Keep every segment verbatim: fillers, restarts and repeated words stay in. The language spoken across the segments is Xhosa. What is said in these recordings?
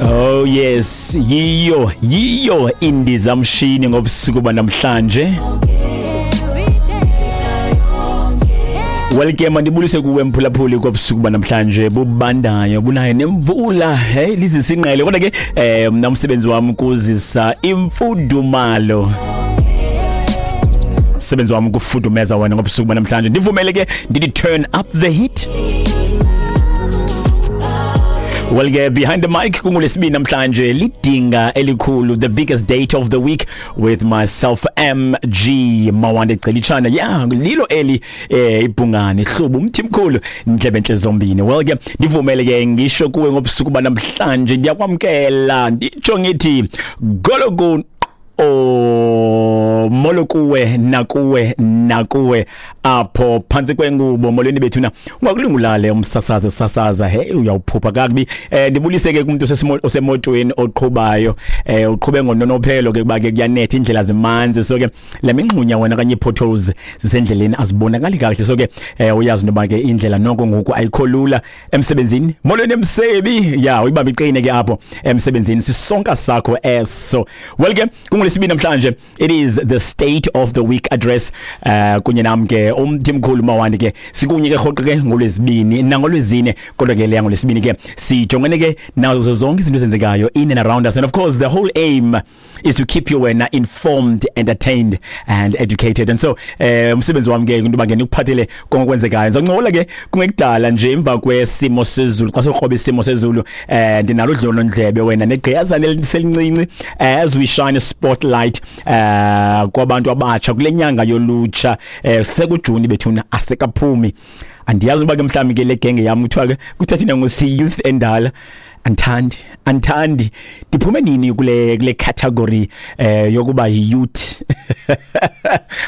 Oh yes, yiyo yiyo indizamshini ngobusuku banamhlanje. Welcome ndibulise kuwe mphulaphuli kobusuku banamhlanje bubandayo bunayo nemvula, hey lizisinqele kodwa ke eh mna umsebenzi wami kuzisa imfudumalo. Umsebenzi wami kufudumeza wena ngobusuku banamhlanje. Ndivumele ke ndithi turn up the heat. Well ke behind the mic kungolesibini namhlanje lidinga elikhulu, the biggest date of the week with myself M G Mawande Gcilitshana. Yeah, lilo eli eh ibhungane hlubu umthimkhulu indlebe enhle zombini. Well ke ndivumele ke ngisho kuwe ngobusuku banamhlanje ndiyakwamkela nditsho ngithi gologo o molo kuwe nakuwe nakuwe apho phantsi kwengubo. Molweni bethuna, ungakulungulale umsasaza sasaza hey uyawuphupha kakubi. Eh ndibulise ke kumuntu osemotweni oqhubayo, eh uqhube ngononophelo ke kuba ke kuyanetha indlela zimanzi, so ke la mingxunya wena kanye potholes zisendleleni azibonakali kahle, so ke eh uyazi noba ke indlela noko ngoku ayikho lula emsebenzini. Molweni emsebi ya uyibamba iqine ke apho emsebenzini sisonka sakho eso. Well ke kungolesibini namhlanje it is the state of the week address uh kunye nami ke umthimkhulu Mawande ke sikunye ke rhoqo ke ngolwesibini nangolwezine, kodwa ke leya ngolwesibini ke sijongene ke nazo zonke izinto ezenzekayo in and around us, and of course the whole aim is to keep you wena informed, entertained and educated. And so eh umsebenzi wami ke into ba ke nikuphathele konke okwenzekayo. Ngizoncokola ke kungekudala nje emva kwesimo sezulu, xa sokroba isimo sezulu eh ndinalo udlonondlebe wena negqiyazana eliselincinci as we shine a spotlight eh kwabantu abatsha kule nyanga yolutsha eh sekuJuni bethuna asekaphumi. Andiyazi uba ke mhlawumbi ke le genge yami kuthiwa ke kuthathina ngo si youth endala anthandi anthandi ndiphume nini kule kule category eh yokuba youth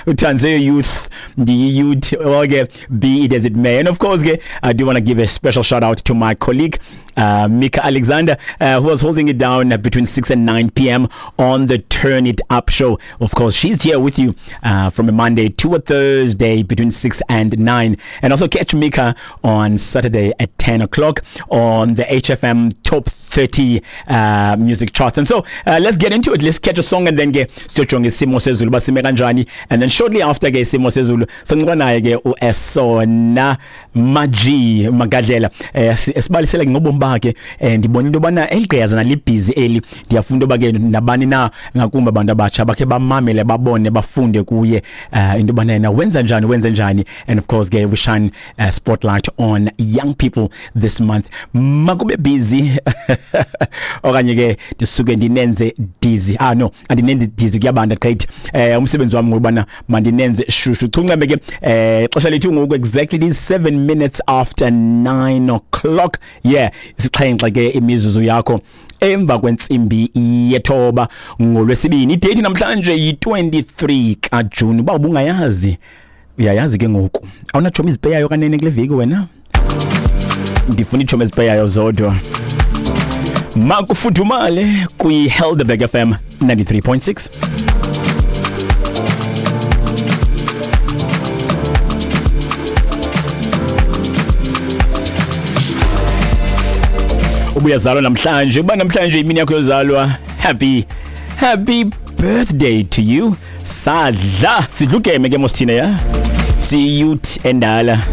uthanze youth ndi youth. Okay, be it as it may. And of course ke I do want to give a special shout out to my colleague Uh, Mika Alexander, uh, who was holding it down between six and nine p.m. on the Turn It Up show. Of course, she's here with you uh, from a Monday to a Thursday between six and nine. And also catch Mika on Saturday at ten o'clock on the H F M Top thirty uh, music charts. And so uh, let's get into it. Let's catch a song and then get siyojonga isimo sezulu basime kanjani. And then shortly after ke isimo sezulu sancokola naye ke uEsona Maji Magadlela esibalisela ngobomi bakhe. Ndibona into yobana eligqiyazana libhizi eli, ndiyafunda uba ke nabani na ngakumbi abantu abatsha bakhe bamamele babone bafunde kuye uh, into yobana yena wenza njani wenza njani. And of course ke we shine a spotlight on young people this month. Makube busy okanye ke ndisuke ndinenze dizzy. Ah no, andinenze dizzy kuyabanda great. Eh umsebenzi wami ngobana mandinenze shushu chuncembe ke eh ixesha lethu ngoku exactly seven minutes after nine o'clock. Yeah, isixhenxe ke imizuzu yakho emva kwentsimbi yethoba ngolwesibini. Idate namhlanje yi-twenty-three kaJune. Uba ubungayazi uyayazi ke ngoku. Awunatshomi izipeyayo kanene kule veki wena? Ndifuna itshomi ezipeyayo zodwa. Makufudumale kwi-Helderberg F M ninety-three point six. Ubuyazalwa namhlanje, uba namhlanje imini yakho yozalwa, happy happy birthday to you. Sadla sidlukeme ke mosithina ya si youth endala.